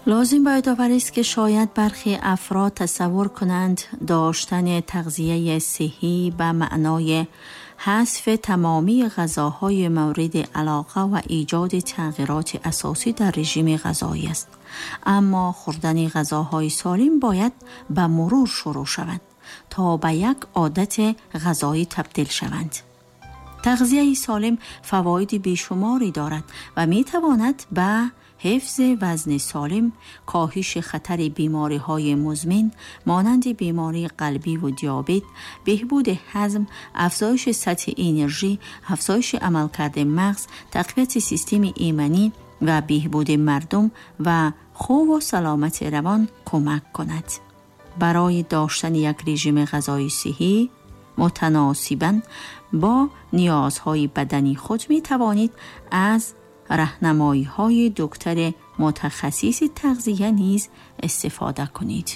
Лозим ба ёдоварист, ки шояд бархе афрод тасаввур кунанд, доштани тағзияи сиҳҳӣ ба маънои ҳазфи тамомии ғазоҳои мавриди алоқа ва эҷоди тағйироти асосӣ дар режими ғазоӣ аст. Аммо хӯрдани ғазоҳои солим бояд ба мурур шурӯъ шавад, то ба як одати ғазоӣ табдил шаванд. Тағзияи солим фавоиди бешуморе дорад ва метавонад ба ҳифзи вазни солим, коҳиши хатари бемориҳои музмин монанди бемории қалбиву диабет, беҳбуди ҳазм, афзоиши сатҳи энержӣ, афзоиши амалкарди мағз, тақвияти системаи иманӣ ва беҳбуди мардум ва хубу саломати равон кӯмак кунад. Барои доштани як режими ғазои сиҳҳӣ мутаносибан бо ниёзҳои бадани худ метавонед аз раҳнамоиҳои доктори мутахассиси тағзия низ истифода кунед.